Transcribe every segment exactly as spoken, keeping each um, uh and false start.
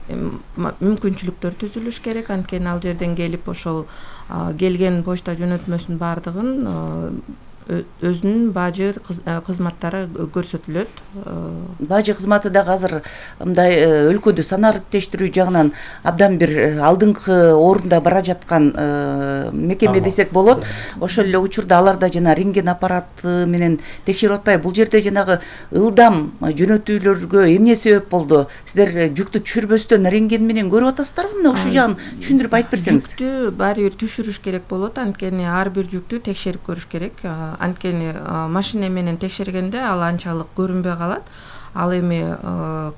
мүмкүнчүлүктөр түзүлүш керек. Анткени ал жерден келип ошол келген почта жөнөтмөсүнүн баардыгын өзүнүн бажы кызматтары көрсөтүлөт. Бажы кызматы дагы азыр мындай өлкөдө санариптештирүү жагынан абдан бир алдыңкы орунда бара жаткан мекеме десек болот. Ошол эле учурда аларда жана рентген аппараты менен текшерип атпайбы? Бул жерде жанагы ылдам жөнөтүүлөргө эмне себеп болду? Сиздер жүктү түшүрбөстөн рентген менен көрүп атасыздарбы? Мына ушул жагын түшүндүрүп айтып берсеңиз. Жүктү баары бир түшүрүш керек болот. Анткени ар бир жүктү текшерип көрүш керек. Анткени машина менен текшергенде ал анчалык көрүнбөй калат. Ал эми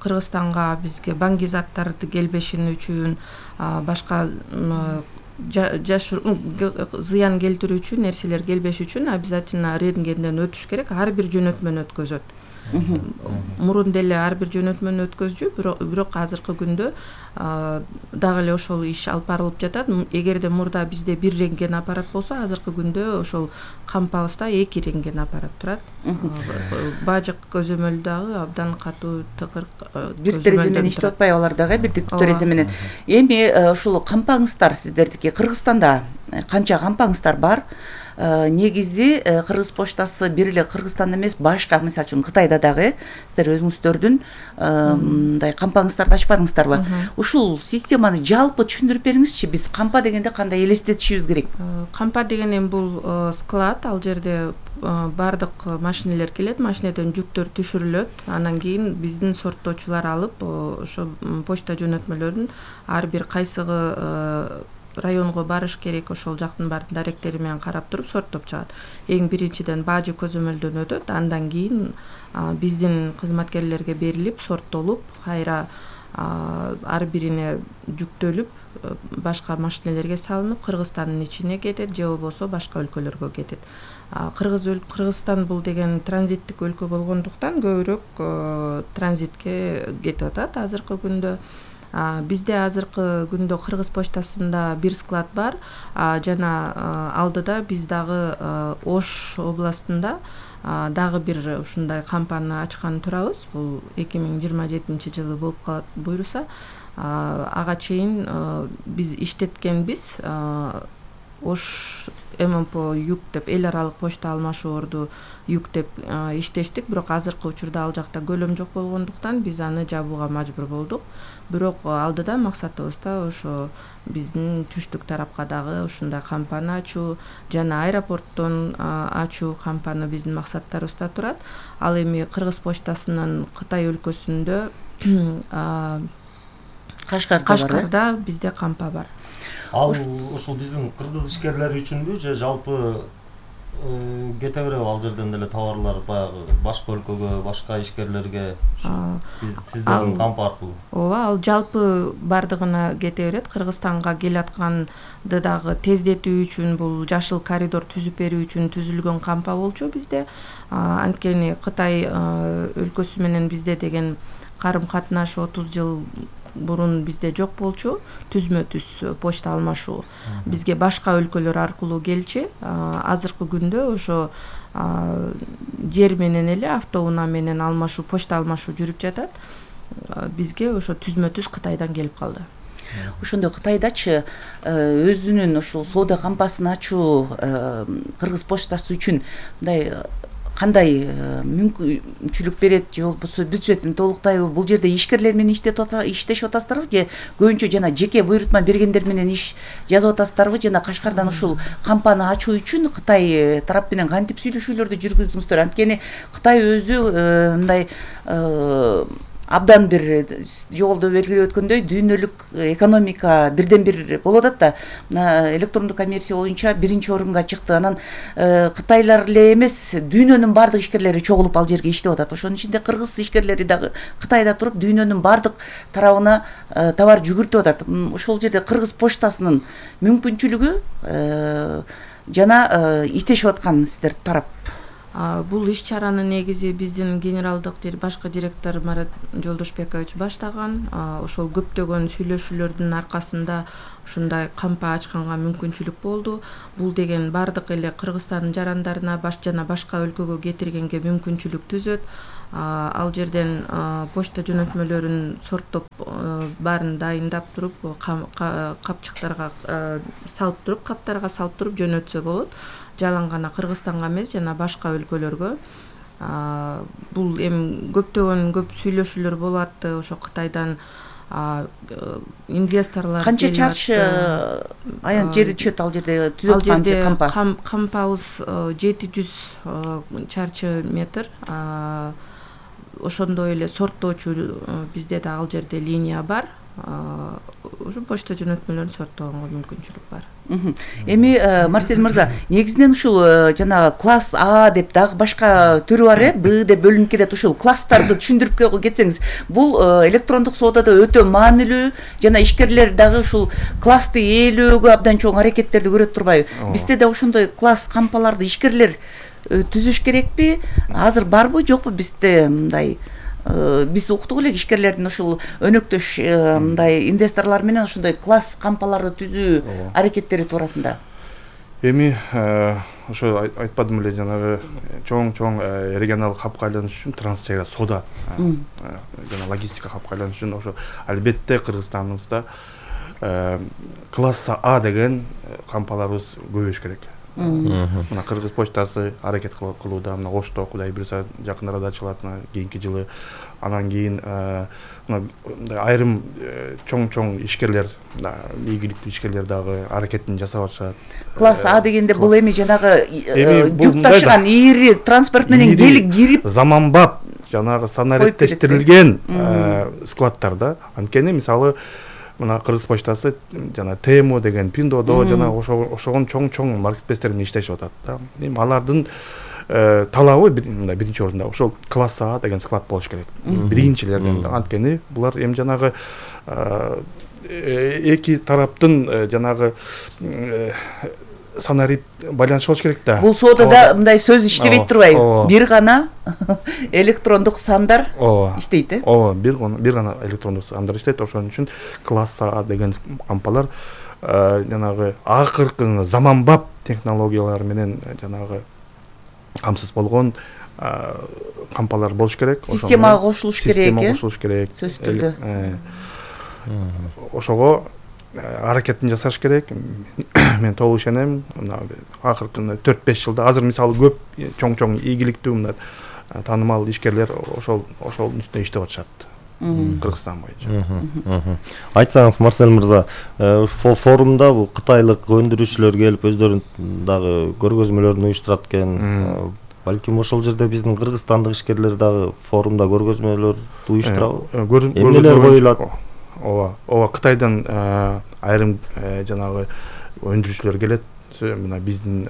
Кыргызстанга бизге баңгизаттарды келбешини үчүн, башка зыян келтирүүчү нерселер келбеш үчүн обязательно рентгенден өтүш керек. Ар бир жөнөтмөнү өткөзөт. Мурун деле ар бир жөнөтмөнү өткөзчү, бирок азыркы күндө дагы эле ошол иш алып барылып жатат. Эгерде мурда бизде бир рентген аппарат болсо, азыркы күндө ошол кампабызда эки рентген аппарат турат. Бажык көзөмөл дагы абдан катуу тыкыр бир терезе менен иштеп атпайбы алар дагы, бирдиктүү терезе менен. Эми ушул кампаңыздар сиздердики Кыргызстанда канча кампаңыздар бар? Негизи Кыргыз почтасы бир эле Кыргызстанда эмес, башка, мисалы үчүн Кытайда дагы сиздер өзүңүздөрдүн мындай кампаңыздарды ачпадыңыздарбы? Ушул системаны жалпы түшүндүрүп бериңизчи. Биз кампа дегенде кандай элестетишибиз керек? Кампа деген эми бул склад, ал жерде баардык машинелер келет, машинеден жүктөр түшүрүлөт. Анан кийин биздин сорттоочулар алып ошо почта жөнөтмөлөрүн ар бир кайсыгы районго барыш керек, ошол жактын баардык даректери менен карап туруп сорттоп чыгат. Эң биринчиден бажы көзөмөлдөн өтөт, андан кийин биздин кызматкерлерге берилип, сорттолуп, кайра ар бирине жүктөлүп, башка машинелерге салынып, Кыргызстандын ичине кетет, же болбосо башка өлкөлөргө кетет. Кыргыз Кыргызстан бул деген транзиттик өлкө болгондуктан көбүрөөк транзитке кетип атат азыркы күндө. Бизде азыркы күндө Кыргыз почтасында бир склад бар, жана алдыда биз дагы Ош областында дагы бир ушундай кампаны ачкан турабыз. Бул эки миң жыйырма жетинчи жылы болуп калат буюрса. Ага чейин биз иштеткенбиз. Ош ММП юк деп, эл аралык почта алмашуурду юк деп иштештик, бирок азыркы учурда ал жакта көлөм жок болгондуктан биз аны жабууга мажбур болдук. Бирок алдыда максатыбызда ошо биздин түштүк тарапка дагы ушундай кампаны ачуу жана аэропорттон ачуу кампаны биздин максаттарыбызда турат. Ал эми Кыргыз почтасынын Кытай өлкөсүндө Кашкарда бизде кампа бар. Ал ушул биздин кыргыз ишкерлери үчүнбү же жалпы кете береби ал жерден деле товарлар баягы башка өлкөгө, башка ишкерлерге сиздердин кампа аркылуу? Ооба, ал жалпы бардыгына кете берет. Кыргызстанга келатканды дагы тездетүү үчүн бул жашыл коридор түзүп берүү үчүн түзүлгөн кампа болчу бизде. Анткени Кытай өлкөсү менен бизде деген карым-катнаш отуз жыл бурун бизде жок болчу, түзмө-түз почта алмашуу. Бизге башка өлкөлөр аркылуу келчү. Азыркы күндө ошо жер менен эле автоунаа менен алмашуу, почта алмашуу жүрүп жатат. Бизге ошо түзмө-түз Кытайдан келип калды. Ошондо Кытайдачы өзүнүн ушул соода кампасын ачуу Кыргыз почтасы үчүн мындай кандай мүмкүнчүлүк берет, же болбосо бюджетин толуктайбы? Бул жерде ишкерлер менен иштешип атасыздарбы, же көбүнчө жана жеке буйрутма бергендер менен иш жазып атасыздарбы? Жана Кашкардан ушул кампаны ачуу үчүн Кытай тарап менен кантип сүйлөшүүлөрдү жүргүздүңүздөр? Анткени Кытай өзү мындай абдан бир жолдо белгилеп өткөндөй дүйнөлүк экономика бирден бир болуп атат да, электрондук коммерция боюнча биринчи орунга чыкты. Анан кытайлар эле эмес, дүйнөнүн баардык ишкерлери чогулуп ал жерге иштеп атат. Ошонун ичинде кыргыз ишкерлери дагы Кытайда туруп дүйнөнүн баардык тарабына товар жүгүртүп атат. Ошол жерде Кыргыз почтасынын мүмкүнчүлүгү жана иштешип аткан сиздер тарап. Бул иш-чараны негизи биздин генералдык башкы директор Марат Жолдошбекович баштаган. Ошол көптөгөн сүйлөшүүлөрдүн аркасында ушундай кампа ачканга мүмкүнчүлүк болду. Бул деген бардык эле Кыргызстандын жарандарына баш жана башка өлкөгө кетиргенге мүмкүнчүлүк түзөт. Ал жерден почта жөнөтмөлөрүн сорттоп баарын дайындап туруп капчыктарга салып туруп каптарга салып туруп жөнөтсө болот. Жалаң гана Кыргызстанга эмес, жана башка өлкөлөргө. Бул эми көптөгөн көп сүйлөшүүлөр болуп атты ошо Кытайдан инвесторлор. Канча чарчы аян жери чөт ал жерде түзөт канча кампа? Кампабыз жети жүз чарчы метр. Ошондой эле сорттоочу бизде да ал жерде линия бар. Ушу почта жөнөтмөлөрүн сорттоого мүмкүнчүлүк бар. Эми Марсель мырза, негизинен ушул жанагы класс А деп дагы башка түрү бар э, Б деп бөлүнүп кетет. Ушул класстарды түшүндүрүп кетсеңиз, бул электрондук соодада өтө маанилүү, жана ишкерлер дагы ушул классты ээлөөгө абдан чоң аракеттерди көрөт турбайбы? Бизде да ошондой класс кампаларды ишкерлер түзүш керекпи? Азыр барбы, жокпу бизде мындай? Биз уктук элек ишкерлердин ушул өнөктөш мындай инвесторлор менен ошондой класс кампаларды түзүү аракеттери туурасында. Эми ошо айтпадым эле, жанагы чоң-чоң регионалдык хабка айланыш үчүн трансчегара соода жана логистика хабка айланыш үчүн ошо албетте Кыргызстаныбызда класс А деген кампаларыбыз көбөйүш керек. Мына Кыргыз почтасы аракет кылууда, мына Ошто Кудай буйруса жакын арада ачылат, кийинки жылы. Анан кийин мына айрым чоң-чоң ишкерлер, ийгиликтүү ишкерлер дагы аракетин жасап атышат. Класс А дегенде бул эми жанагы жүк ташыган ийри транспорт менен келип кирип заманбап жанагы санариттештирилген складтарда. Анткени мисалы мына Кыргыз почтасы жана Тему деген Пиндодо жана ошогон чоң-чоң маркетплейстер менен иштешип атат да. Эми алардын талабы мындай биринчи орунда ошол класс А деген склад болуш керек. Биринчилерден. Анткени булар эми жанагы эки тараптын жанагы санарит байланышы болуш керек да. Бул соодада мындай сөз иштебейт турбайбы? Бир гана электрондук сандар иштейт э? Ооба, бир бир гана электрондук сандар иштейт. Ошон үчүн класс А деген кампалар жанагы акыркы заманбап технологиялар менен жанагы камсыз болгон кампалар болуш керек. Системага кошулуш керек э? Системага кошулуш керек. Сөзсүз түрдө. Ошого аракетин жасаш керек. Мен толук ишенем. Акыркы төрт беш жылда азыр мисалы көп чоң-чоң ийгиликтүү мына таанымал ишкерлер ошол ошол үстүнө иштеп атышат. Кыргызстан боюнча. Айтсаңыз, Марсель мырза, ушул форумда бул кытайлык өндүрүүчүлөр келип өздөрүнүн дагы көргөзмөлөрүн уюштурат экен. Балким ошол жерде биздин кыргызстандык ишкерлер дагы форумда көргөзмөлөрдү уюштурабы? Эмнелер коюлат? Ооба, ооба, Кытайдан айрым жанагы өндүрүүчүлөр келет. Мына биздин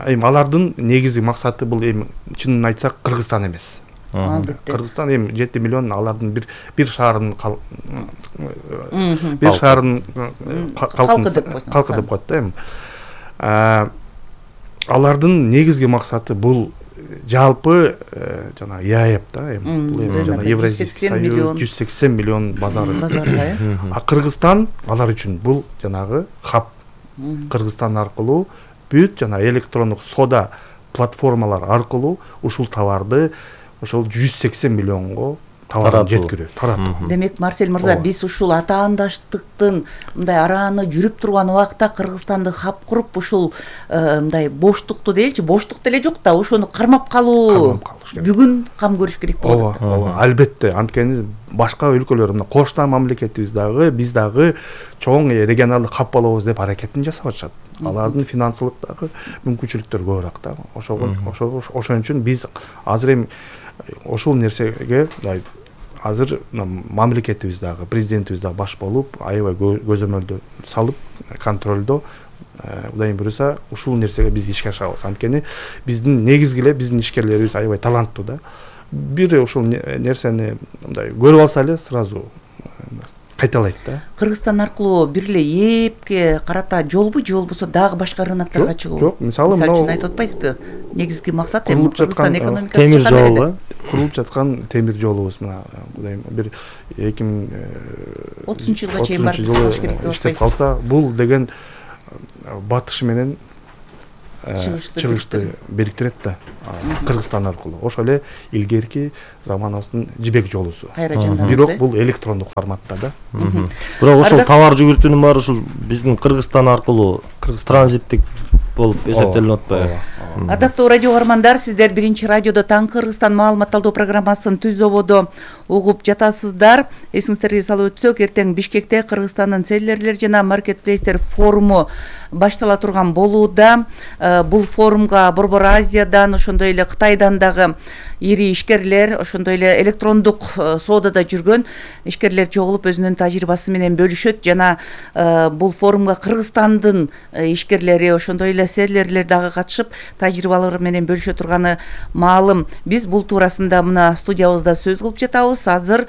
эми алардын негизги максаты бул эми чынын айтсак Кыргызстан эмес. Кыргызстан эми жети миллион алардын бир бир шаарын бир шаарын калкы деп коет да эми. Алардын негизги максаты бул жалпы жана ЕАЭП да эми бул эми жана Евразийский союз жүз сексен миллион базары. А Кыргызстан алар үчүн бул жанагы хаб. Кыргызстан аркылуу бүт жана электрондук соода платформалар аркылуу ушул товарды ошол жүз сексен миллионго товарын жеткирүү, таратуу. Демек, Марсель мырза, биз ушул атаандаштыктын мындай арааны жүрүп турган убакта Кыргызстанды хаб куруп ушул мындай боштукту дейчи, боштук деле жок да, ошону кармап калуу бүгүн кам көрүш керек болот. Ооба, ооба, албетте. Анткени башка өлкөлөр, мына кошуна мамлекетибиз дагы, биз дагы чоң регионалдык хаб болобуз деп аракетин жасап атышат. Алардын финансылык дагы мүмкүнчүлүктөрү көбүрөөк да. Ошого ошон үчүн биз азыр эми ошол нерсеге азыр мамлекетибиз дагы, президентибиз дагы баш болуп, аябай көзөмөлдө салып, контролдо, Кудай буйруса ушул нерсеге биз ишке ашабыз. Анткени биздин негизги эле биздин ишкерлерибиз аябай таланттуу да. Бир ушул нерсени мындай көрүп алса эле сразу кайталайт да. Кыргызстан аркылуу бир эле ээпке карата жолбу, же болбосо дагы башка рыноктарга чыгуу? Жок, мисалы мисалы үчүн айтып атпайсызбы? Негизги максат эми Кыргызстан экономикасы темир жол, курулуп жаткан темир жолубуз мына Кудай бир эки миң отузунчу жылга чейин барып иштеп калса, бул деген батыш менен чыгышты бириктирет да Кыргызстан аркылуу. Ошол эле илгерки заманыбыздын жибек жолусу. Кайра жанданат. Бирок бул электрондук форматта да. Бирок ошол товар жүгүртүүнүн баары ушул биздин Кыргызстан аркылуу транзиттик болуп эсептелип атпайбы? Ардактуу радио угармандар, сиздер биринчи радиодо Таң Кыргызстан маалымат алуу программасын түз ободо угуп жатасыздар. Эсиңиздерге салып өтсөк, эртең Бишкекте Кыргызстандын селлерлер жана маркетплейстер форуму баштала турган болууда. Бул форумга Борбор Азиядан, ошондой эле Кытайдан дагы ири ишкерлер, ошондой эле электрондук соодада жүргөн ишкерлер чогулуп өзүнүн тажрыйбасы менен бөлүшөт жана бул форумга Кыргызстандын ишкерлери, ошондой эле селлерлер дагы катышып тажрыйбалары менен бөлүшө турганы маалым. Биз бул туурасында мына студиябызда сөз кылып жатабыз. Азыр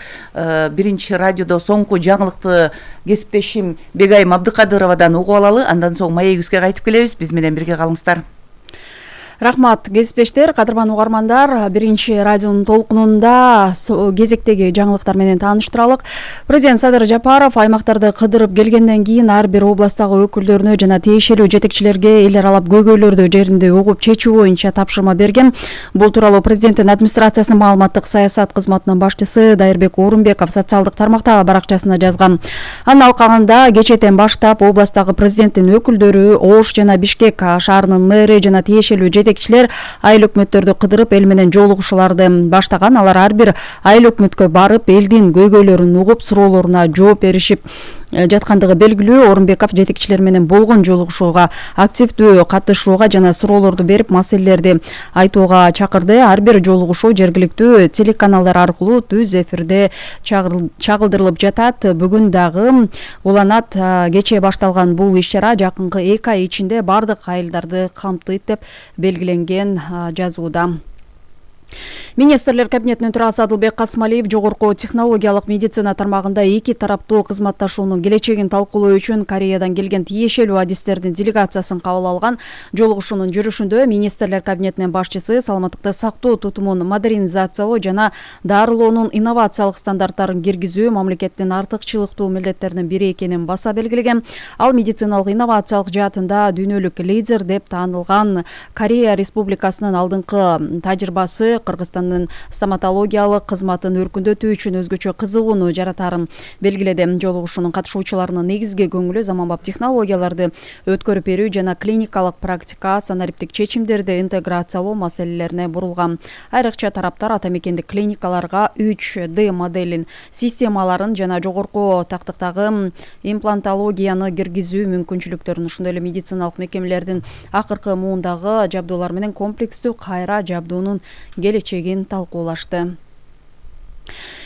биринчи радиодо соңку жаңылыкты кесиптешим Бегайым Абдыкадыровадан угуп алалы, андан соң маегибизге кайтып келебиз. Биз менен бирге калыңыздар. Рахмат, кесиптештер, кадырман угармандар. Биринчи радионун толкунунда кезектеги жаңылыктар менен тааныштыралык. Президент Садыр Жапаров аймактарды кыдырып келгенден кийин ар бир областтагы өкүлдөрүнө жана тиешелүү жетекчилерге эл аралап көйгөйлөрдү жеринде угуп чечүү боюнча тапшырма берген. Бул тууралуу президенттин администрациясынын маалыматтык саясат кызматынын башчысы Дайырбек Орунбеков социалдык тармактагы баракчасына жазган. Анын алкагында кечэтен баштап областтагы президенттин өкүлдөрү, Ош жана Бишкек шаарынын мэри жана тиешелүү жетекчилер айыл өкмөттөрдү кыдырып эл менен жолугушууларды баштаган. Алар ар бир айыл өкмөткө барып элдин көйгөйлөрүн угуп суроолоруна жооп беришип жаткандыгы белгилүү. Орунбеков жетекчилер менен болгон жолугушууга активдүү катышууга жана суроолорду берип маселелерди айтууга чакырды. Ар бир жолугушуу жергиликтүү телеканалдар аркылуу түз эфирде чагылдырылып жатат. Бүгүн дагы уланат. Кечээ башталган бул иш-чара жакынкы эки ай ичинде бардык айылдарды камтыйт деп белгиленген жазууда. Министрлер кабинетинин төрагасы Адылбек Касмалиев жогорку технологиялык медицина тармагында эки тараптуу кызматташуунун келечегин талкуулоо үчүн Кореядан келген тиешелүү адистердин делегациясын кабыл алган. Жолугушуунун жүрүшүндө министрлер кабинетинин башчысы саламаттыкты сактоо тутумун модернизациялоо жана дарылоонун инновациялык стандарттарын киргизүү мамлекеттин артыкчылыктуу милдеттеринин бири экенин баса белгилеген. Ал медициналык инновациялык жаатында дүйнөлүк лидер деп таанылган Корея Республикасынын алдыңкы тажрыйбасы Кыргызстандын стоматологиялык кызматын өркүндөтүү үчүн өзгөчө кызыгууну жаратарын белгиледи. Жолугушуунун катышуучуларынын негизги көңүлү заманбап технологияларды өткөрүп берүү жана клиникалык практика, санариптик чечимдерди интеграциялоо маселелерине бурулган. Айрыкча тараптар ата мекендик клиникаларга үч дэ моделин системаларын жана жогорку тактыктагы имплантологияны киргизүү мүмкүнчүлүктөрүн, ошондой эле медициналык мекемелердин акыркы муундагы жабдуулар менен комплекстүү кайра жабдуунун келечегин талкуулашты.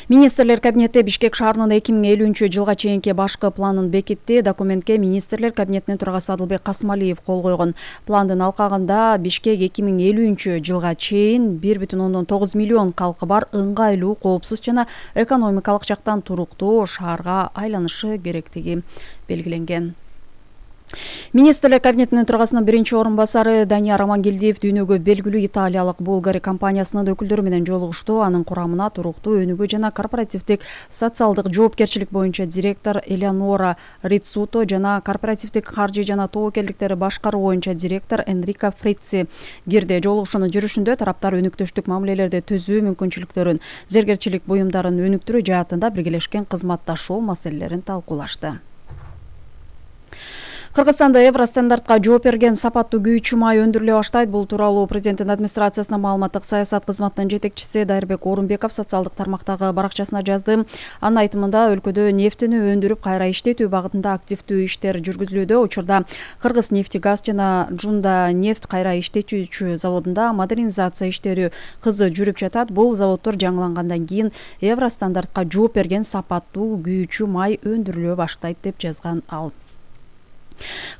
Министрлер кабинети Бишкек шаарынын эки миң элүүнчү жылга чейинки башкы планын бекитти. Документке министрлер кабинетинин төрагасы Адылбек Касмалиев кол койгон. Пландын алкагында Бишкек эки миң элүүнчү жылга чейин бир бүтүн ондон тогуз миллион калкы бар ыңгайлуу, коопсуз жана экономикалык жактан туруктуу шаарга айланышы керектиги белгиленген. Министрлер кабинетинин төрагасынын биринчи орун басары Данияр Амангелдиев дүйнөгө белгилүү италиялык Булгари компаниясынын өкүлдөрү менен жолугушту. Анын курамына туруктуу өнүгүү жана корпоративдик социалдык жоопкерчилик боюнча директор Элеонора Рицуто жана корпоративдик каржы жана тобокелдиктерди башкаруу боюнча директор Энрико Фрици кирди. Жолугушуунун жүрүшүндө тараптар өнүктүштүк мамилелерди түзүү мүмкүнчүлүктөрүн, зергерчилик буюмдарын өнүктүрүү жаатында биргелешкен кызматташуу маселелерин талкуулашты. Кыргызстанда Евростандартка жооп берген сапаттуу күйүүчү май өндүрүлө баштайт. Бул тууралуу президенттин администрациясынын маалыматтык саясат кызматынын жетекчиси Дайырбек Орунбеков социалдык тармактагы баракчасына жазды. Анын айтымында өлкөдө нефтини өндүрүп кайра иштетүү багытында активдүү иштер жүргүзүлүүдө. Учурда Кыргыз нефтегаз жана Жунда нефть кайра иштетүүчү заводунда модернизация иштери кызы жүрүп жатат. Бул заводдор жаңылангандан кийин Евростандартка жооп берген сапаттуу күйүүчү май өндүрүлө баштайт деп жазган ал.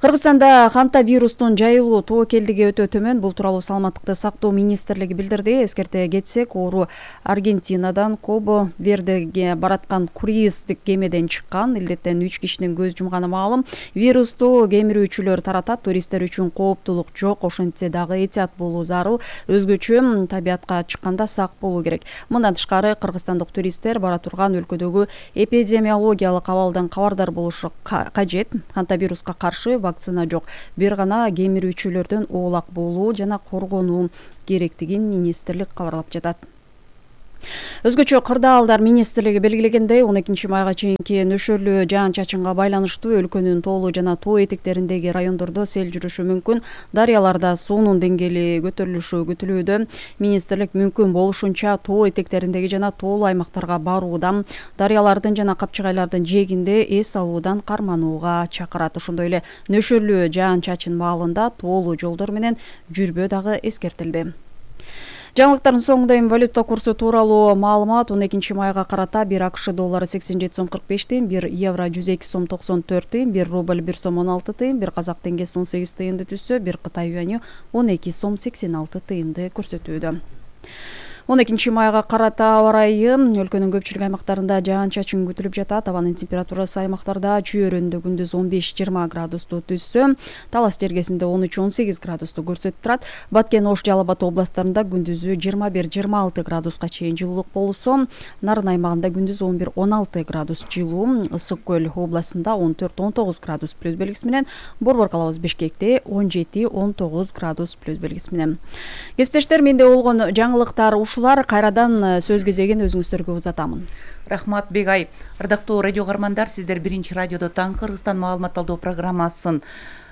Кыргызстанда ханта вирустун жайылуу тобокелдиги өтө төмөн. Бул тууралуу саламаттыкты сактоо министрлиги билдирди. Эскерте кетсек, оору Аргентинадан Кобо Вердеге бараткан круиздик кемеден чыккан. Илдеттен үч кишинин көз жумганы маалым. Вирусту кемирүүчүлөр таратат. Туристтер үчүн кооптулук жок. Ошентсе дагы этият болуу зарыл. Өзгөчө табиятка чыкканда сак болуу керек. Мындан тышкары кыргызстандык туристтер бара турган өлкөдөгү эпидемиологиялык абалдан кабардар болушу кажет. Ханта вируска каршы вакцина жок. Бир гана кемирүүчүлөрдөн оолак болуу жана коргонуу керектигин министрлик кабарлап жатат. Өзгөчө кырдаалдар министрлиги белгилегендей, он экинчи майга чейинки нөшөрлүү жаан-чачынга байланыштуу өлкөнүн тоолуу жана тоо этектериндеги райондордо сел жүрүшү мүмкүн. Дарыяларда суунун деңгээли көтөрүлүшү күтүлүүдө. Министрлик мүмкүн болушунча тоо этектериндеги жана тоолуу аймактарга баруудан, дарыялардын жана капчыгайлардын жээгинде эс алуудан карманууга чакырат. Ошондой эле нөшөрлүү жаан-чачын маалында тоолуу жолдор менен жүрбөө дагы эскертилди. Жаңылыктардын соңунда эми валюта курсу тууралуу маалымат. он экинчи майга карата бир АКШ доллары сексен жети сом кырк беш тыйын, бир евро жүз эки сом токсон төрт тыйын, бир рубль бир сом он алты тыйын, бир казак теңгеси он сегиз тыйынды түзсө, бир Кытай юаню он эки сом сексен алты тыйынды көрсөтүүдө. он экинчи майга карата аба ырайы өлкөнүн көпчүлүк аймактарында жаан-чачын күтүлүп жатат. Абанын температурасы аймактарда чүйөрүндө күндүз он беш жыйырма градусту түзсө, Талас жергесинде он үч он сегиз градусту көрсөтүп турат. Баткен, Ош, Жалал Абад областарында күндүзү жыйырма бир жыйырма алты градуска чейин жылуулук болсо, Нарын аймагында күндүз он бир он алты градус жылуу, Ысык көл областында он төрт он тогуз градус плюс белгиси менен, Борбор калабыз Бишкекте он жети он тогуз градус плюс белгиси менен. Кесиптештер, менде болгон жаңылыктар ушулар. Кайрадан сөз кезегин өзүңүздөргө узатамын. Рахмат Бегай. Ардактуу радио каармандар, сиздер биринчи радиодо Таң Кыргызстан маалымат алуу программасын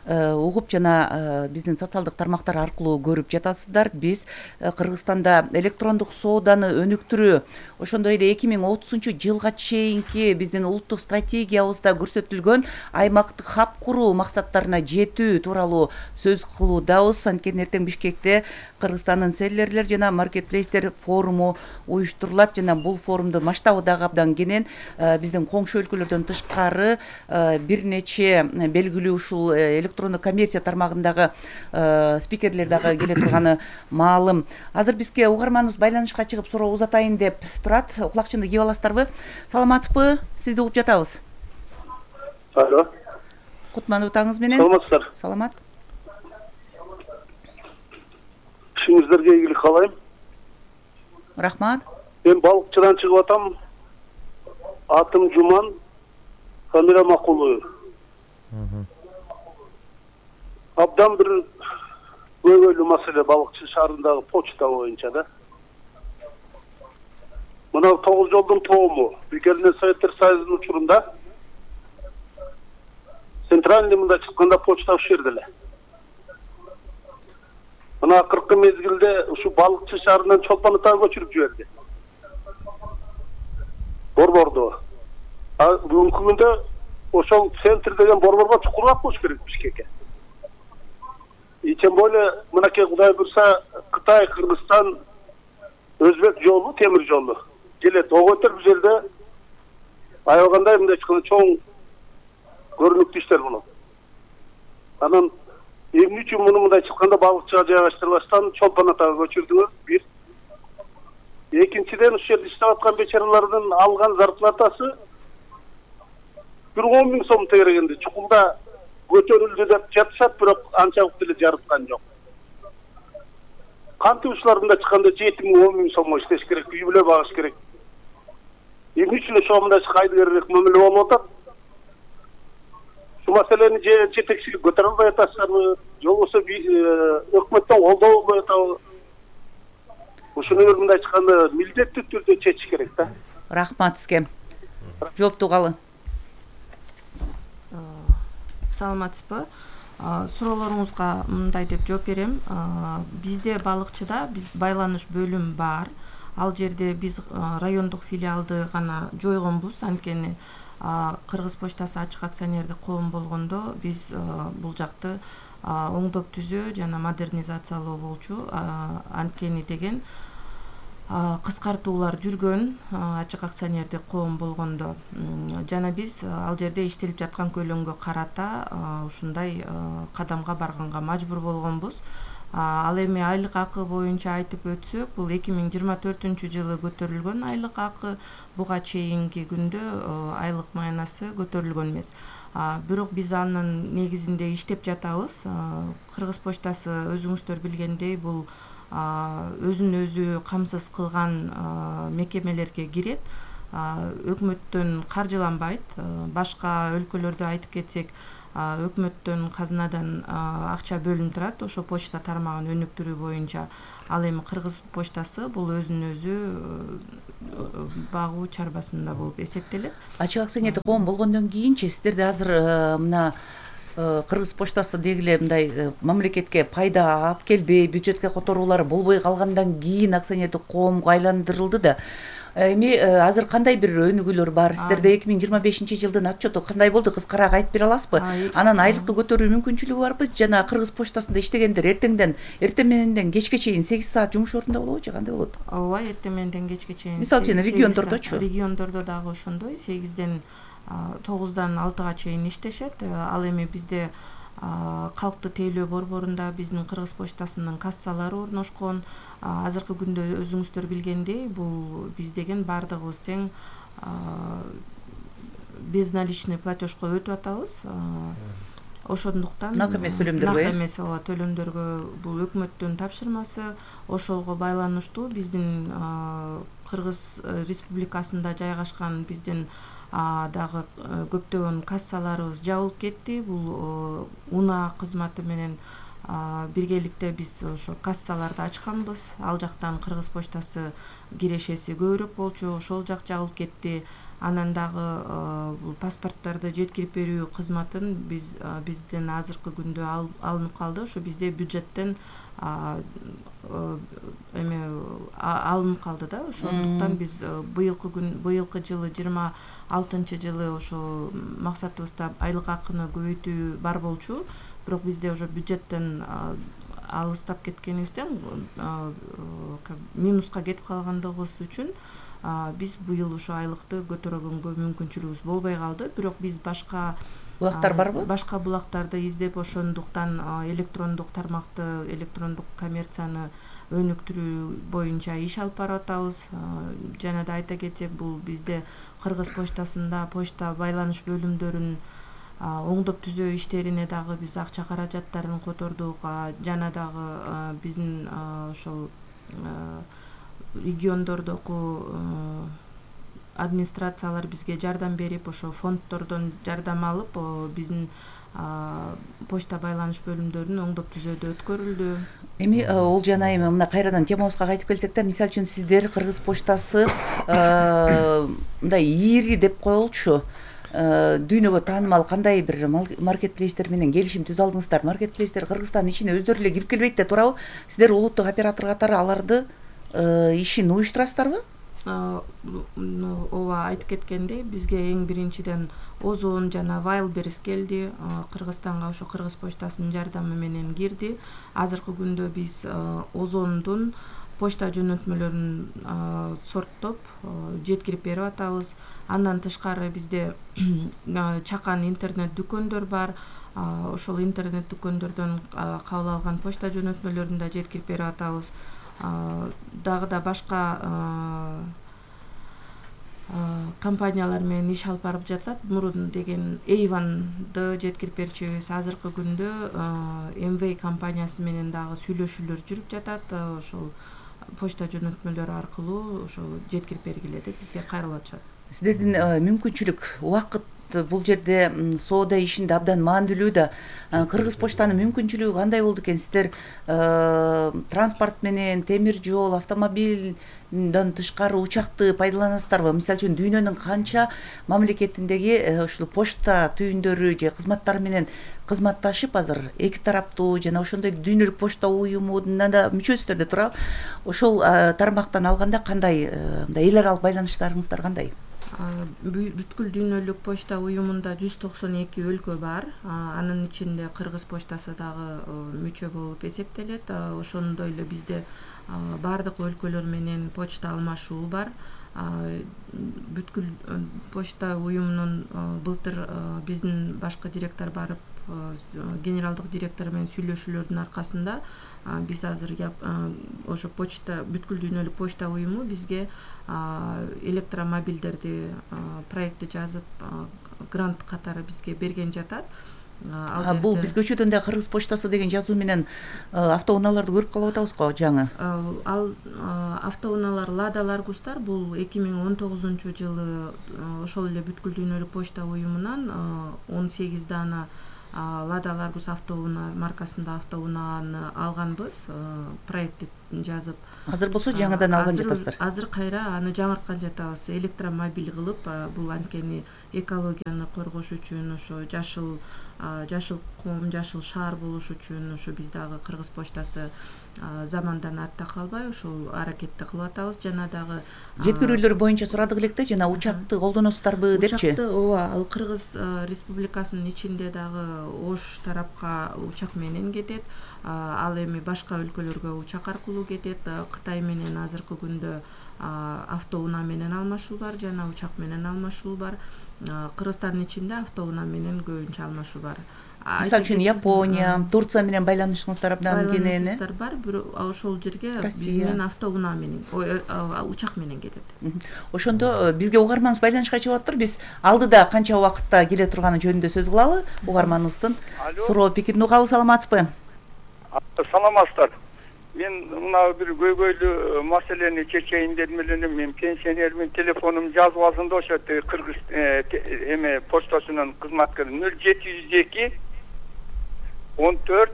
угуп жана биздин социалдык тармактар аркылуу көрүп жатасыздар. Биз Кыргызстанда электрондук сооданы өнүктүрүү, ошондой эле эки миң отузунчу жылга чейинки биздин улуттук стратегиябызда көрсөтүлгөн аймактык хаб куруу максаттарына жетүү тууралуу сөз кылуудабыз. Анткени эртең Бишкекте Кыргызстандын селлерлер жана маркетплейстер форуму уюштурулат жана бул форумдун масштабы дагы абдан кенен. Биздин коңшу өлкөлөрдөн тышкары бир нече белгилүү ушул электрондук коммерция тармагындагы спикерлер дагы келе турганы маалым. Азыр бизге угарманыбыз байланышка чыгып суроо узатайын деп турат. Кулакчынды кийип аласыздарбы? Саламатсызбы? Сизди угуп жатабыз. Алло. Кутман утаңыз менен. Саламатсыздар. Саламат. Ишиңиздерге ийгилик каалайм. Рахмат. Мен балыкчыдан чыгып атам. Атым Жуман, фамилия Макулов. Абдан бир көйгөйлүү маселе балыкчы шаарындагы почта боюнча да. Мына тогуз жолдун тоому Бекердин Советтер Союзунун учурунда центральный мында чыкканда почта ушул жерде эле. Мына акыркы мезгилде ушу балыкчы шаарынан Чолпон Атага көчүрүп жиберди. Борбордо. А бүгүнкү күндө ошол центр деген борборго чукураак болуш керек Бишкекке. И тем более мынакей Кудай буйрса Кытай, Кыргызстан, Өзбек жолу, темир жолу келет. Ого өтөр бул жерде аябагандай мындай чыккан чоң көрүнүктүү иштер болот. Анан эмне үчүн муну мындай чыкканда балыкчыга жайгаштырбастан Чолпон Атага көчүрдүңөр? Бир. Экинчиден, ушул жерде иштеп аткан бечаралардын алган зарплатасы бир он миң сом тегерегенде чукулда көтөрүлдү деп жатышат, бирок анчалык деле жарыткан жок. Кантип ушулардын да чыкканда жети миң он миң сомго иштеш керек, үй бүлө багыш керек. Эмне үчүн ошого мындай кайдыгерээк мамиле болуп атат? Ушул маселени же жетекчилик көтөрө албай атасыздарбы, же болбосо өкмөттөн колдоо болбой атабы? Ушуну бир мындай чыкканда милдеттүү түрдө чечиш керек да. Рахмат сизге. Жоопту калы. Саламатсызбы? Суроолоруңузга мындай деп жооп берем. Бизде балыкчыда биз байланыш бөлүм бар. Ал жерде биз райондук филиалды гана жойгонбуз. Анткени Кыргыз почтасы ачык акционердик коом болгондо биз бул жакты оңдоп түзөө жана модернизациялоо болчу. Анткени деген кыскартуулар жүргөн ачык акционердик коом болгондо жана биз ал жерде иштелип жаткан көлөмгө карата ушундай кадамга барганга мажбур болгонбуз. Ал эми айлык акы боюнча айтып өтсөк, бул эки миң жыйырма төртүнчү жылы көтөрүлгөн айлык акы, буга чейинки күндө айлык маянасы көтөрүлгөн эмес. Бирок биз анын негизинде иштеп жатабыз. Кыргыз почтасы өзүңүздөр билгендей бул өзүн өзү камсыз кылган мекемелерге кирет. өкмөттөн каржыланбайт. Башка өлкөлөрдү айтып кетсек, өкмөттөн казынадан акча бөлүнүп турат ошо почта тармагын өнүктүрүү боюнча. Ал эми Кыргыз почтасы бул өзүн өзү багуу чарбасында болуп эсептелет. Ачык акционердик коом болгондон кийинчи сиздерде азыр мына Кыргыз почтасы деги эле мындай мамлекетке пайда алып келбей, бюджетке которуулары болбой калгандан кийин акционердик коомго айландырылды да. Эми азыр кандай бир өнүгүүлөр бар? Сиздерде эки миң жыйырма бешинчи жылдын отчету кандай болду? Кыскараак айтып бере аласызбы? Анан айлыкты көтөрүү мүмкүнчүлүгү барбы? Жана Кыргыз почтасында иштегендер эртеңден эртең мененден кечке чейин сегиз саат жумуш ордунда болобу же кандай болот? Ооба, эртең мененден кечке чейин. Мисалы үчүн региондордочу? Региондордо дагы ошондой, сегизден тогуздан алтыга чейин иштешет. Ал эми бизде калкты тейлөө борборунда биздин Кыргыз почтасынын кассалары орношкон. Азыркы күндө өзүңүздөр билгендей, бул биз деген бардыгыбыз тең безналичный платежко өтүп атабыз. Ошондуктан нак эмес төлөмдөргө, нак эмес ооба төлөмдөргө бул өкмөттүн тапшырмасы. Ошолго байланыштуу биздин Кыргыз Республикасында жайгашкан биздин дагы көптөгөн кассаларыбыз жабылып кетти. Бул УНА кызматы менен биргеликте биз ошо кассаларды ачканбыз. Ал жактан Кыргыз почтасы кирешеси көбүрөөк болчу, ошол жак жабылып кетти. Анан дагы бул паспорттарды жеткирип берүү кызматын биз бизден азыркы күндө алынып калды. Ошо бизде бюджеттен эме алынып калды да. Ошондуктан биз быйылкы күн быйылкы жылы жыйырма алтынчы жылы ошо максатыбызда айлык акыны көбөйтүү бар болчу. Бирок бизде уже бюджеттен алыстап кеткенибизден минуска кетип калгандыгыбыз үчүн биз быйыл ошо айлыкты көтөргөнгө мүмкүнчүлүгүбүз болбой калды. Бирок биз башка булактар барбы? Башка булактарды издеп, ошондуктан электрондук тармакты, электрондук коммерцияны өнүктүрүү боюнча иш алып барып атабыз. Жана да айта кетсек, бул бизде Кыргыз почтасында почта байланыш бөлүмдөрүн оңдоп түзөө иштерине дагы биз акча каражаттарын котордук. Жана дагы биздин ошол региондордогу администрациялар бизге жардам берип, ошо фонддордон жардам алып, биздин почта байланыш бөлүмдөрүн оңдоп түзөөдө өткөрүлдү. Эми Олжан айым, мына кайрадан темабызга кайтып келсек да, мисалы үчүн сиздер Кыргыз почтасы мындай ири деп коелучу, дүйнөгө таанымал кандай бир маркетплейстер менен келишим түзүп алдыңыздар? Маркетплейстер Кыргызстандын ичине өздөрү эле кирип келбейт да туурабы? Сиздер улуттук оператор катары аларды ишин уюштурасыздарбы? Ооба, айтып кеткендей, бизге эң биринчиден Озон жана Wildberries келди. Кыргызстанга ошо Кыргыз почтасынын жардамы менен кирди. Азыркы күндө биз Озондун почта жөнөтмөлөрүн сорттоп жеткирип берип атабыз. Андан тышкары бизде чакан интернет дүкөндөр бар. Ошол интернет дүкөндөрдөн кабыл алган почта жөнөтмөлөрүн да жеткирип берип атабыз. Дагы да башка компаниялар менен иш алып барып жатат. Мурун деген Эйванды жеткирип берчүбүз. Азыркы күндө эм вэ компаниясы менен дагы сүйлөшүүлөр жүрүп жатат. Ошол почта жөнөтмөлөрү аркылуу ошо жеткирип бергиле деп бизге кайрылып атышат. Сиздердин мүмкүнчүлүк, убакыт бул жерде соода ишинде абдан маанилүү да. Кыргыз почтанын мүмкүнчүлүгү кандай болду экен? Сиздер транспорт менен, темир жол, автомобилден тышкары учакты пайдаланасыздарбы? Мисалы үчүн дүйнөнүн канча мамлекетиндеги ушул почта түйүндөрү же кызматтары менен кызматташып азыр эки тараптуу жана ошондой дүйнөлүк почта уюмуна да мүчөсүздөр да туурабы? Ошол тармактан алганда кандай эл аралык байланыштарыңыздар кандай? Бүткүл дүйнөлүк почта уюмунда жүз токсон эки өлкө бар. Анын ичинде Кыргыз почтасы дагы мүчө болуп эсептелет. Ошондой эле бизде бардык өлкөлөр менен почта алмашуу бар. Бүткүл почта уюмунун былтыр биздин башкы директор барып, генералдык директор менен сүйлөшүүлөрдүн аркасында биз азыр ошо почта бүткүл дүйнөлүк почта уюму бизге электромобилдерди проектти жазып грант катары бизге берген жатат. А бул биз көчөдөн да кыргыз почтасы деген жазуу менен автоунааларды көрүп калып атабыз го жаңы. Ал автоунаалар Лада Ларгустар бул эки миң он тогузунчу жылы ошол эле бүткүл дүйнөлүк почта уюмунан он сегиз даана Лада Ларгус автоунаа маркасында автоунааны алганбыз, проектти жазып. Азыр болсо жаңыдан алган жатасыздар. Азыр кайра аны жаңырткан жатабыз. Электромобиль кылып, бул анткени экологияны коргош үчүн, ошо жашыл жашыл ком, жашыл шаар болуш үчүн ошо биз дагы Кыргыз почтасы замандан артта калбай ушул аракетти кылып атабыз. Жана дагы жеткирүүлөр боюнча сурадык электе, жана учакты колдоносуздарбы депчи. Учакты, ооба, ал Кыргыз Республикасынын ичинде дагы Ош тарапка учак менен кетет. Ал эми башка өлкөлөргө учак аркылуу кетет. Кытай менен азыркы күндө автоунаа менен алмашуу бар, жана учак менен алмашуу бар. Кыргызстандын ичинде автоунаа менен көбүнчө алмашуу бар. Мисалы үчүн Япония, Турция менен байланышыңыздар абдан кенен. Байланышыңыздар бар, бирок ошол жерге биз менен автоунаа менен, учак менен кетет. Ошондо бизге угарманыбыз байланышка чыгып атыптыр. Биз алдыда канча убакытта келе турганы жөнүндө сөз кылалы. Угарманыбыздын суроо пикирин угалы. Саламатсызбы? Саламатсыздар. Мен мына бир көйгөйлүү маселени чечейин дедим эле. Мен пенсионермин, телефонум жазбасында ошо Кыргыз эме почтасынын кызматкери нөл жети жүз эки он төрт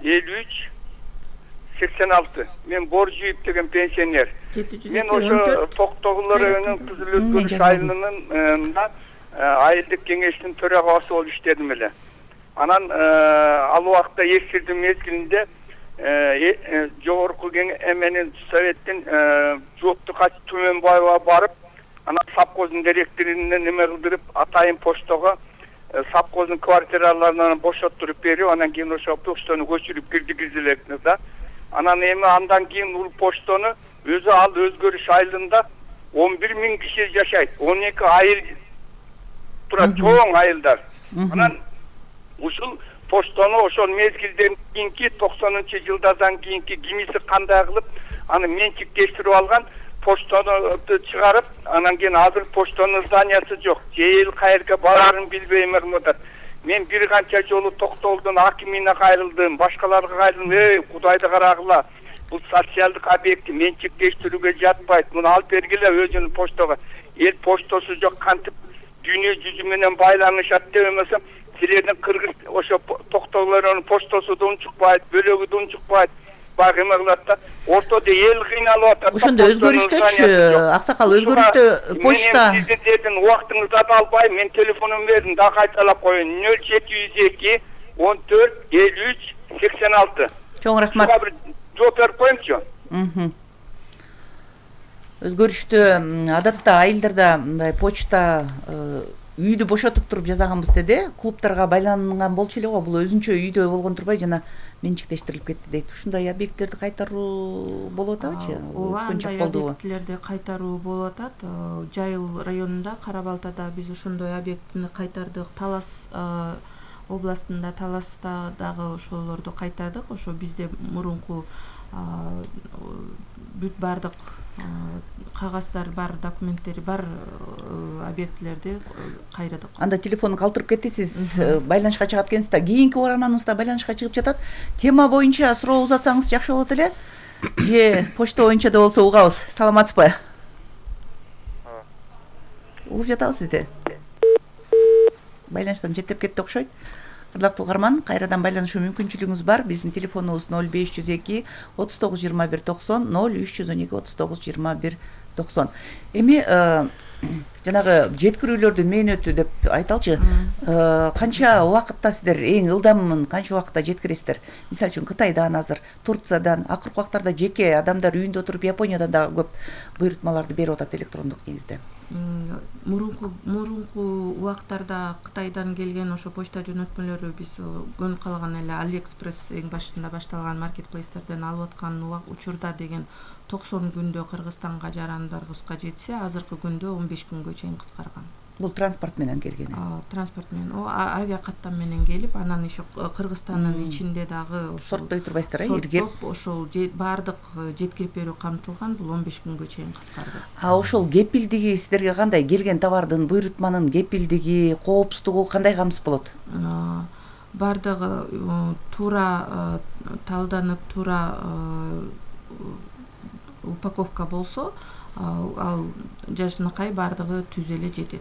элүү үч сексен алты. Мен Боржиев деген пенсионер. Мен ошо Токтогул районунун Кызыл Өткөрүш айылынын айылдык кеңештин төрагасы болуп иштедим эле. Анан ал убакта эскирдин мезгилинде жогорку эменин советтин жоопту кат Түмөнбаева барып, анан совхоздун директоруна неме кылдырып, атайын поштого совхоздун квартираларынан бошоттуруп берип, анан кийин ошо поштону көчүрүп киргизилет да. Анан эми андан кийин бул поштону өзү ал Өзгөрүш айылында он бир миң киши жашайт. он эки айыл турат, чоң айылдар. Анан ушул поштону ошол мезгилден кийинки токсонунчу жылдардан кийинки кимиси кандай кылып аны менчиктештирип алган, поштону чыгарып, анан кийин азыр поштонун зданиясы жок. Жел кайерге барарын билбей кылып атат. Мен бир канча жолу Токтогулдун акимине кайрылдым, башкаларга кайрылдым. Эй, Кудайды карагыла. Бул социалдык объект менчиктештирүүгө жатпайт. Муну алып бергиле өзүнүн поштого. Эл поштосу жок, кантип дүйнө жүзү менен байланышат деп эмесе, силердин Кыргыз ошо Токтогулдун поштосу да унчукпайт, бөлөгү да унчукпайт. Багы эме кылат да, ортодо эл кыйналып атат. Ошондо өзгөрүштөчү, аксакал өзгөрүштө почта. Мен сиздердин убактыңызды да албайм, мен телефонумду бердим, да кайталап коеюн. нөл жети жүз эки он төрт элүү үч сексен алты. Чоң рахмат. Буга бир жооп берип коеюңчу. Өзгөрүштө адатта айылдарда мындай почта үйдү бошотуп туруп жасаганбыз деди. Клубтарга байланган болчу эле го. Бул өзүнчө үйдө болгон турбай жана менчиктештирилип кетти дейт. Ушундай объекттерди кайтаруу болуп атабычы? Ооба, андай объектилерди кайтаруу болуп атат. Жайыл районунда, Кара Балтада биз ошондой объектини кайтардык. Талас областында, Таласта дагы ошолорду кайтардык. Ошо бизде мурунку бүт бардык кагаздар бар, документтери бар объектилерди кайрадык. Анда телефону калтырып кетти, сиз байланышка чыгат экенсиз да. Кийинки угарманыбыз да байланышка чыгып жатат. Тема боюнча суроо узатсаңыз жакшы болот эле. Же почта боюнча да болсо угабыз. Саламатсызбы? Угуп жатабыз сизди. Байланыштан четтеп кетти окшойт. Ырдактуу угарман, кайрадан байланышуу мүмкүнчүлүгүңүз бар. Биздин телефонубуз нөл беш жүз эки отуз тогуз жыйырма бир токсон, нөл үч жүз он эки отуз тогуз жыйырма бир токсон. Эми жанагы жеткирүүлөрдүн мээнөтү деп айталчы. Канча убакытта сиздер эң ылдамын канча убакытта жеткиресиздер? Мисалы үчүн Кытайдан азыр, Турциядан, акыркы убактарда жеке адамдар үйүндө отуруп Япониядан да көп буйрутмаларды берип атат электрондук негизде. Мурунку мурунку убактарда Кытайдан келген ошо почта жөнөтмөлөрү биз көнүп калган эле AliExpress эң башында башталган маркетплейстерден алып аткан учурда деген токсон күндө Кыргызстанга жарандарыбызга жетсе, азыркы күндө он беш күнгө чейин кыскарган. Бул транспорт менен келген. Транспорт менен, о авиа каттам менен келип, анан еще Кыргызстандын ичинде дагы сорттой турбайсыздар, э, иргеп. Ошол баардык жеткирип берүү камтылган, бул он беш күнгө чейин кыскарды. А ошол кепилдиги сиздерге кандай? Келген товардын буйрутманын кепилдиги, коопсуздугу кандай камсыз болот? Баардыгы туура талданып, туура упаковка болсо, ал жашынакай баардыгы түз эле жетет.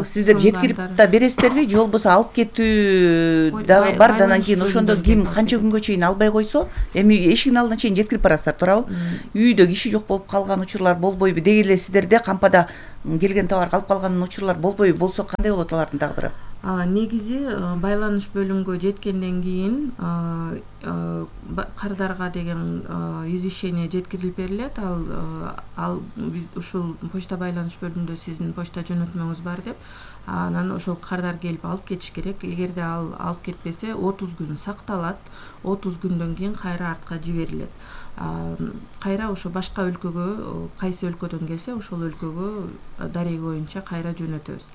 Сиздер жеткирип да бересиздерби, же болбосо алып кетүү дагы бар да, анан кийин ошондо ким канча күнгө чейин албай койсо, эми эшигин алдына чейин жеткирип барасыздар, туурабы? Үйдө киши жок болуп калган учурлар болбойбу? Деги эле сиздерде кампада келген товар калып калган учурлар болбойбу? Болсо кандай болот алардын тагдыры? Негизи байланыш бөлүмгө жеткенден кийин кардарга деген извещение жеткирилип берилет. Ал ал биз ушул почта байланыш бөлүмүндө сиздин почта жөнөтмөңүз бар деп, анан ошол кардар келип алып кетиш керек. Эгерде ал алып кетпесе, отуз күн сакталат. отуз күндөн кийин кайра артка жиберилет. Кайра ошо башка өлкөгө, кайсы өлкөдөн келсе, ошол өлкөгө дареги боюнча кайра жөнөтөбүз.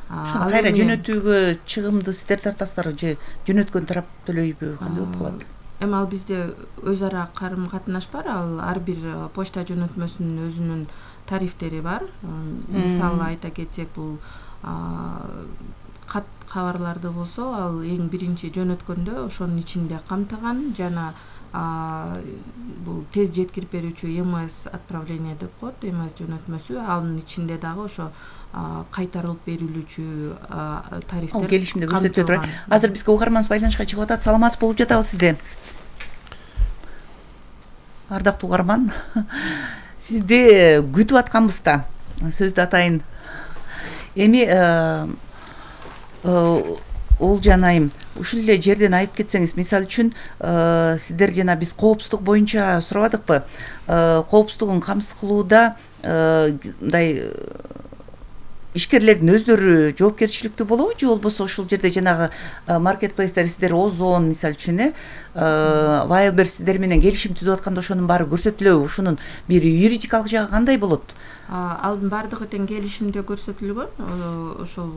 Ошону кайра жөнөтүүгө чыгымды сиздер тартасыздарбы же жөнөткөн тарап төлөйбү, кандай болуп калат? Эми ал бизде өз ара карым катнаш бар. Ал ар бир почта жөнөтмөсүнүн өзүнүн тарифтери бар. Мисалы айта кетсек, бул кат кабарларды болсо, ал эң биринчи жөнөткөндө ошонун ичинде камтыган, жана бул тез жеткирип берүүчү эм эс отправление деп коет, эм эс жөнөтмөсү, анын ичинде дагы ошо кайтарылып берилүүчү тарифтер. Ал келишимде көрсөтүлө турат. Азыр бизге угарманыбыз байланышка чыгып атат. Саламатсыз болуп жатабыз сизде. Ардактуу угарман, сизди күтүп атканбыз да. Сөздү атайын. Эми Олжан айым, ушул эле жерден айтып кетсеңиз, мисалы үчүн сиздер жана биз коопсуздук боюнча сурабадыкпы? Коопсуздугун камсыз кылууда мындай ишкерлердин өздөрү жоопкерчиликтүү болобу, же болбосо ушул жерде жанагы маркетплейстер сиздер Озон мисалы үчүн, э Вайлбер сиздер менен келишим түзүп атканда ошонун баары көрсөтүлөбү? Ушунун бир юридикалык жагы кандай болот? Алдын баардыгы тең келишимде көрсөтүлгөн. Ошол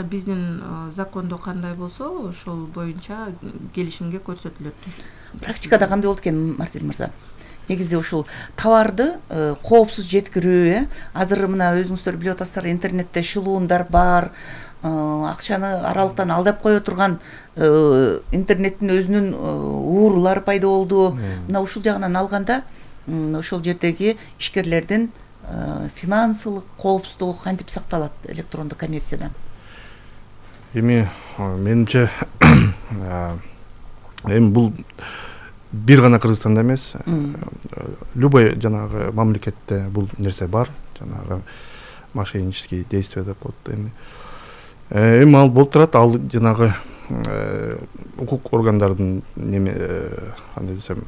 биздин закондо кандай болсо, ошол боюнча келишимге көрсөтүлөт. Практикада кандай болот экен, Марсель мырза? Негизи ушул товарды коопсуз жеткирүү, азыр мына өзүңүздөр билип атасыздар, интернетте шылуундар бар, акчаны аралыктан алдап кое турган интернеттин өзүнүн уурулары пайда болду. Мына ушул жагынан алганда, ошол жердеги ишкерлердин финансылык коопсуздугу кантип сакталат электрондук коммерцияда? Эми менимче эми бул бир гана Кыргызстанда эмес, любой жанагы мамлекетте бул нерсе бар, жанагы мошеннические действия деп коет. Эми эми ал болуп турат, ал жанагы укук органдардын неме кандай десем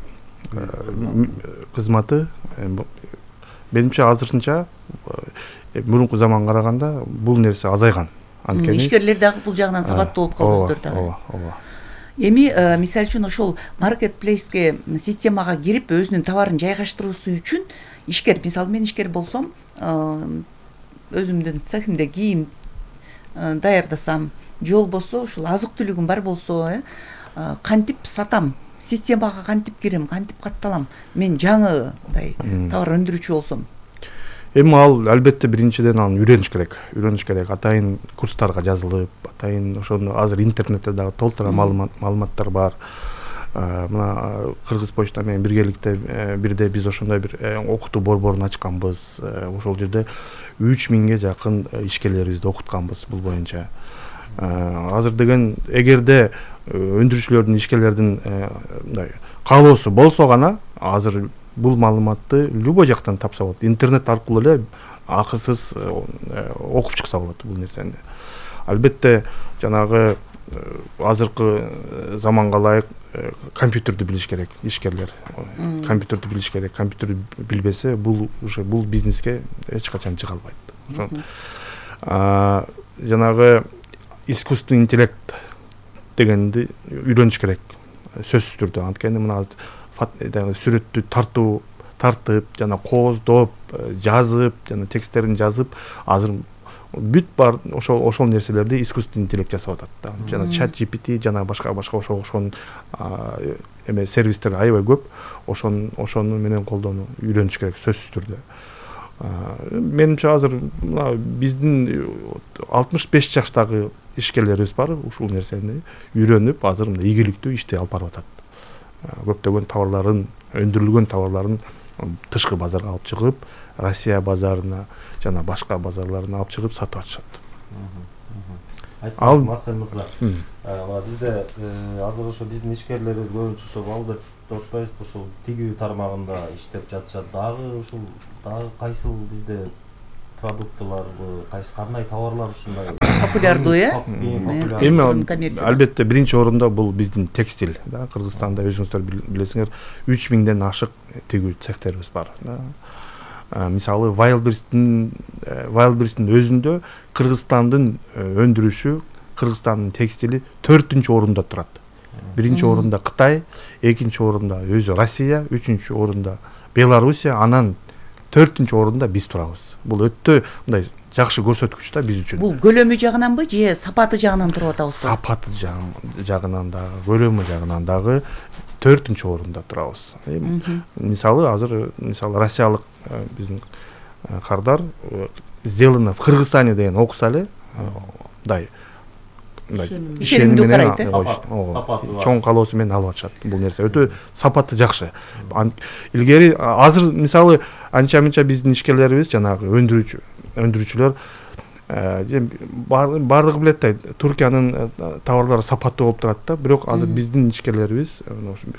кызматы. Менимче азырынча мурунку заманга караганда бул нерсе азайган. Анткени ишкерлер дагы бул жагынан сабаттуу болуп калдыңыздар да. Ооба, ооба. Эми мисалы үчүн ошол маркетплейске системага кирип өзүнүн товарын жайгаштыруусу үчүн ишкер, мисалы мен ишкер болсом, өзүмдүн цехимде кийим даярдасам, же болбосо ушул азык-түлүгүм бар болсо, кантип сатам, системага кантип кирем, кантип катталам, мен жаңы мындай товар өндүрүүчү болсом? Эми ал албетте биринчиден аны үйрөнүш керек. Үйрөнүш керек. Атайын курстарга жазылып, атайын ошону азыр интернетте дагы толтура маалыматтар бар. Мына Кыргыз почта менен биргеликте бирде биз ошондой бир окутуу борборун ачканбыз. Ошол жерде үч миңге жакын ишкерлерибизди окутканбыз бул боюнча. Азыр деген эгерде өндүрүүчүлөрдүн, ишкерлердин мындай каалоосу болсо гана азыр бул маалыматты любой жактан тапса болот. Интернет аркылуу эле акысыз окуп чыкса болот бул нерсени. Албетте жанагы азыркы заманга ылайык компьютерди билиш керек ишкерлер. Компьютерди билиш керек. Компьютерди билбесе бул уже бул бизнеске эч качан чыга албайт. Жанагы искусственный интеллект дегенди үйрөнүш керек. Сөзсүз түрдө. Анткени мына сүрөттү тартуу тартып, жана кооздоп, жазып, жана тексттерин жазып, азыр бүт бар ошол ошол нерселерди искусственный интеллект жасап атат да. Жана чат джи пи ти жана башка башка ошого окшогон эме сервистер аябай көп. Ошон ошону менен колдонуу үйрөнүш керек сөзсүз түрдө. Менимче азыр мына биздин алтымыш беш жаштагы ишкерлерибиз бар, ушул нерсени үйрөнүп, азыр мындай ийгиликтүү ишти алып барып атат. Көптөгөн товарларын, өндүрүлгөн товарларын тышкы базарга алып чыгып, Россия базарына жана башка базарларына алып чыгып сатып атышат. Ал Марсель мырза, бизде азыр ошо биздин ишкерлерибиз көбүнчө ошо Валберс деп атпайбызбы, ошол тигүү тармагында иштеп жатышат. Дагы ушул дагы кайсыл бизде продуктыларбы, кайсы кандай товарлар ушундай популярдуу, э? Эми албетте биринчи орунда бул биздин текстиль, да. Кыргызстанда өзүңүздөр билесиңер, үч миңден ашык тигүү цехтерибиз бар, да. Мисалы Wildberries'tin Wildberries'tin өзүндө Кыргызстандын өндүрүшү, Кыргызстандын текстили төртүнчү орунда турат. Биринчи орунда Кытай, экинчи орунда өзү Россия, үчүнчү орунда Белоруссия, анан төртүнчү орунда биз турабыз. Бул өтө мындай жакшы көрсөткүч да биз үчүн. Бул көлөмү жагынанбы же сапаты жагынан туруп атабызбы? Сапаты жагынан дагы, көлөмү жагынан дагы төртүнчү орунда турабыз. Мисалы азыр мисалы россиялык биздин кардар сделано в Кыргызстане деген окуса эле, мындай ишенимдүү карайт, э? Чоң калоосу менен алып атышат. Бул нерсе өтө сапаты жакшы. Илгери азыр мисалы анча-мынча биздин ишкерлерибиз жанагы өндүрүүчү өндүрүүчүлөр баардыгы билет да, Туркиянын товарлары сапаттуу болуп турат да, бирок азыр биздин ишкерлерибиз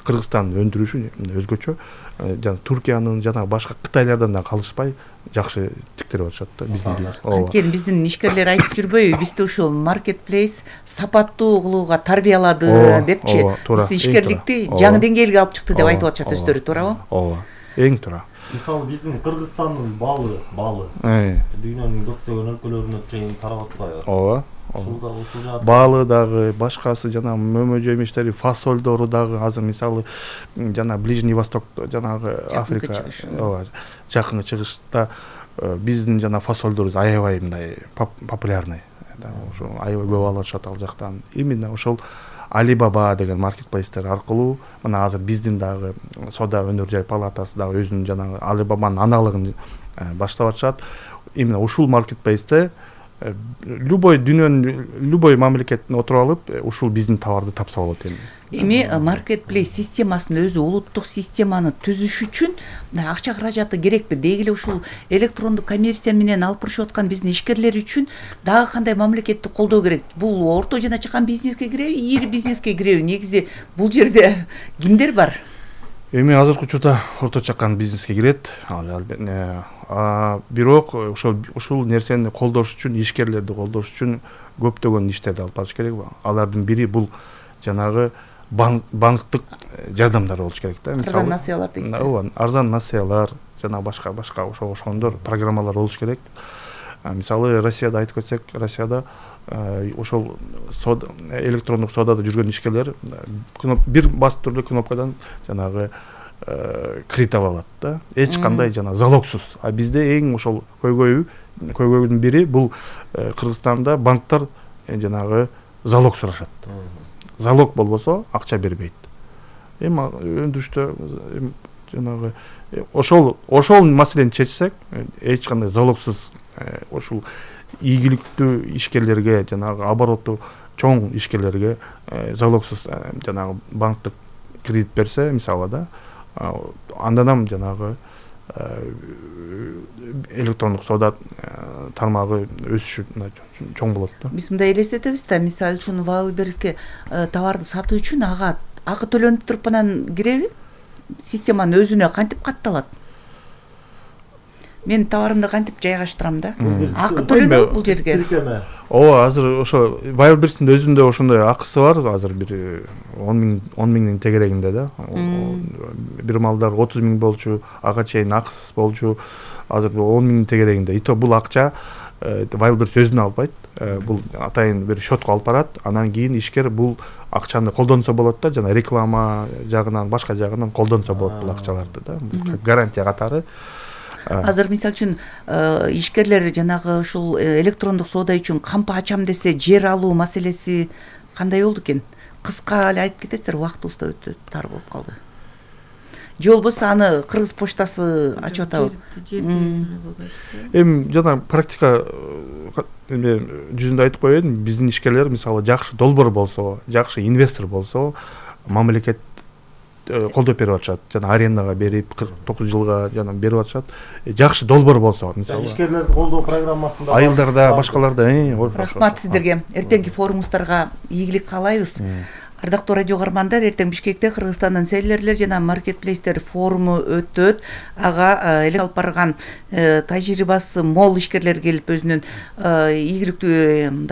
Кыргызстандын өндүрүшү өзгөчө, жана Туркиянын жана башка Кытайлардан да калышпай жакшы тиктирип атышат да биздин. Анткени биздин ишкерлер айтып жүрбөйбү, бизди ушул маркетплейс сапаттуу кылууга тарбиялады депчи, биз ишкерликти жаңы деңгээлге алып чыкты деп айтып атышат өздөрү, туурабы? Ооба, эң туура. Мисалы биздин Кыргызстандын балы, балы дүйнөнүн көптөгөн өлкөлөрүнө чейин тарап атпайбы? Ооба. Ушул дагы ушул жаат. Балы дагы, башкасы жана мөмө жемиштери, фасолдору дагы азыр мисалы жана Ближний Восток, жанагы Африка, ооба, жакынкы чыгышта биздин жана фасолдорубуз аябай мындай популярный. Ошо аябай көп алып атышат ал жактан. Именно ошол Alibaba деген маркетплейстер аркылуу мына азыр биздин дагы Соода өнөр жай палатасы дагы өзүнүн жанагы Alibaba'нын аналыгын баштап атышат. Именно ушул маркетплейсте любой дүйнөнүн любой мамлекеттин отуруп алып ушул биздин товарды тапса болот эми. Эми маркетплейс системасынын өзү улуттук системаны түзүш үчүн акча каражаты керекпи? Деги эле ушул электрондук коммерция менен алып барышып аткан биздин ишкерлер үчүн дагы кандай мамлекетти колдоо керек? Бул орто жана чакан бизнеске киреби, ири бизнеске киреби? Негизи бул жерде кимдер бар? Эми азыркы учурда орто чакан бизнеске кирет. Бирок ошол ушул нерсени колдош үчүн, ишкерлерди колдош үчүн көптөгөн иштерди алып барыш керек. Алардын бири бул жанагы банктык жардамдар болуш керек да. Арзан насыялар дейсизби? Ооба, арзан насыялар жана башка башка ошого окшогондор программалар болуш керек. Мисалы Россияда айтып кетсек, Россияда ошол электрондук соодада жүргөн ишкерлер бир басып эле кнопкадан жанагы кредит ала алат да. Эч кандай жана залогсуз. А бизде эң ошол көйгөйү көйгөйдүн бири бул Кыргызстанда банктар жанагы залог сурашат. Залог болбосо акча бербейт. Эми өндүрүштө жанагы ошол ошол маселени чечсек, эч кандай залогсуз ушул ийгиликтүү ишкерлерге жанагы обороту чоң ишкерлерге залогсуз жанагы банктык кредит берсе, мисалы да, андан жанагы электрондук соода тармагы өсүшү чоң болот да. Биз мындай элестетебиз да, мисалы үчүн Wildberries'ке товарды сатуу үчүн ага акы төлөнүп туруп анан киреби? Системанын өзүнө кантип катталат? Мен товарымды кантип жайгаштырам да? Акы төлөнөбү бул жерге? Ооба, азыр ошо Wildberries'тин өзүндө ошондой акысы бар, азыр бир он миңдин тегерегинде да. Бир малдар отуз миң болчу, ага чейин акысыз болчу, азыр он миңдин тегерегинде. И то бул акча Wildberries өзүнө албайт. Бул атайын бир счетко алып барат, анан кийин ишкер бул акчаны колдонсо болот да, жана реклама жагынан, башка жагынан колдонсо болот бул акчаларды да. Гарантия катары. азыр мисалы үчүн ишкерлер жанагы ушул электрондук соода үчүн кампа ачам десе жер алуу маселеси кандай болду экен? Кыска эле айтып кетесиздер, убактыбыз да өтө тар болуп калды. Же болбосо аны Кыргыз почтасы ачып атабы? Эми жана практика эме жүзүндө айтып коеюн, биздин ишкерлер мисалы жакшы долбоор болсо, жакшы инвестор болсо, мамлекет колдоп берип атышат. Жана арендага берип кырк тогуз жылга жана берип атышат. Жакшы долбоор болсо, мисалы ишкерлерди колдоо программасында айылдарда, башкаларда. Рахмат сиздерге. Эртеңки форумуңуздарга ийгилик каалайбыз. Ардактуу радио угармандар, эртең Бишкекте Кыргызстандын селлерлер жана маркетплейстер форуму өтөт. Ага эле алып барган тажрыйбасы мол ишкерлер келип өзүнүн ийгиликтүү мындай